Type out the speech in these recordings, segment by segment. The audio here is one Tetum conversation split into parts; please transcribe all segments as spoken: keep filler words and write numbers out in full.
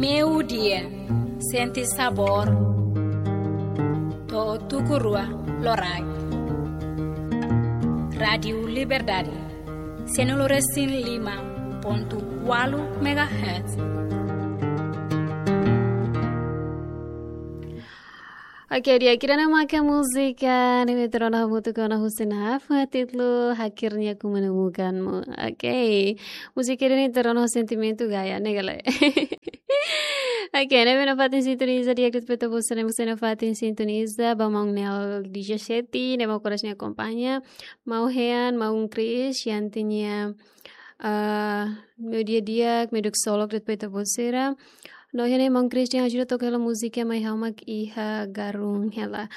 Meiudia, sente sabór. To'o tuku rua loraik. Rádiu Liberdade, sianulu resin lima pontu ualu megahertz. Oke, di'ak, ida-ne'e maka múzika ne'ebé tuur ona hamutuk ona husi nafatin títulu Akhirnya Ku Menemukanmu. Oke, múzika ida-ne'e tuur ona ho sentimentu gaya, ne'e ka lae? Oke, ne'ebé nafatin sintoniza di'ak de'it ba ita-boot sira ne'ebé nafatin sintoniza ba maun Nel dezasete, ne'ebé mak oras ne'e akompaña. Maun Hean, maun Chris, Yanti nia, ah, meiudia di'ak, meiudia ksolok de'it ba ita-boot sira. No iha ne'e maun Chris nia ajuda toka hela múzika Mai Ha'u Mak Iha Garung hela.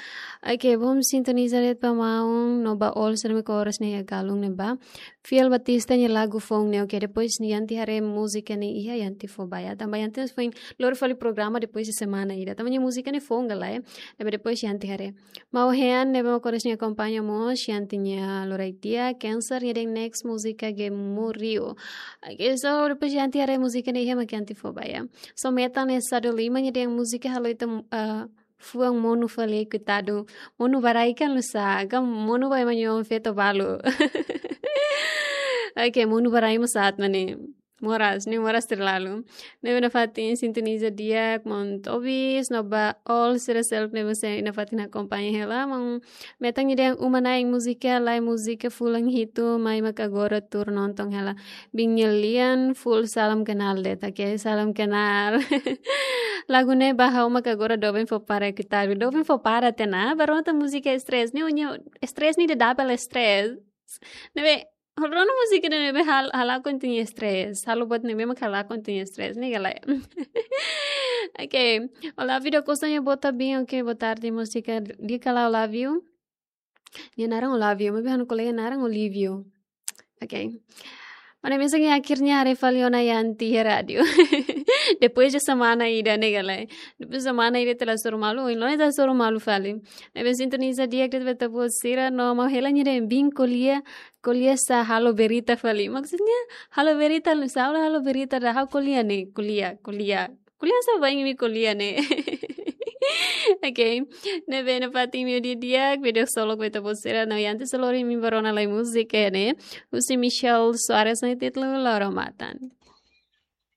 Oke, bom sintoniza de'it ba maun no ba all sira ne'ebé mak oras ne'e iha galun ne'ebá. Fiel Batista nia lagu foun ne'e, oke, depois Yanti haree múzika ne'e iha Yanti fó ba ya. Tanba Yanti foin lori fali programa depois de semana ida. Tanba nia múzika ne'e foun ka lae. Ne'ebé depois Yanti haree. Maun Hean, ne'ebé mak oras ne'e akompaña mós, Yanti nia loraik di'ak, Cancer, nia dehan next múzika Gemuriu. Oke, so, depois Yanti haree múzika ne'e iha mak Yanti fó ba ya. So, Metan ne'e Sadu Lima, nia dehan múzika halo ita, ah, fuan monu fali, koitadu. Monu ba rai kan lusa, kan monu ba ema nia oan feto balu. Oke, monu ba rai mós saat mane. Moras, ne'e moras terlalu. Ne'ebé nafatin sintoniza di'ak, maun Tobis, no ba all sira seluk ne'ebé sei nafatin akompaña hela, maun Metan nia dehan uma-na'in múzika, lae múzika fulan hitu, mai mak agora tuur nonton hela. Biin nia lian, full salam kenal de'it, oke, salam kenal. Lagu ne'e ba ha'u mak agora doben fó para, koitadu. Doben fó para tiha ona, ba rona ita múzika stress, ne'e o-nia stress ne'e ida double stress. Ne'ebé, rona múzika ida ne'ebé hal-, halakon ita-nia stress. Halo buat ne'ebé mak halakon ita-nia stress, ne'e ka lae? Oke. Olavo da Costa nia boot biin, oke, boa tarde, múzika di'ak ka lae, Olavo? Nia naran Olavo, maibé ha'u-nia kolega naran Olívio. Oke. Maun Emerson, akhirnya haree fali ona Yanti iha rádiu. Depois de semana ida, ne'e ka lae? Depois semana ida ita la hasoru malu, ohin loron ita hasoru malu fali. Ne'ebé sintoniza di'ak de'it ba ita-boot sira, no maun Hean nia dehan biin ko'alia, ko'alia sá, halo berita fali. Maksudnya, halo berita, lu sá, halo berita ida, ha'u ko'alia ne'e, ko'alia, ko'alia. Ko'alia sá ba imi ko'alia ne'e. Oke. Ne'ebé nafatin meiudia di'ak, meiudia ksolok ba ita-boot sira, no Yanti sei lori imi ba rona lai múzika ne'e. Husi Michel Soares nia títulu Loro Matan.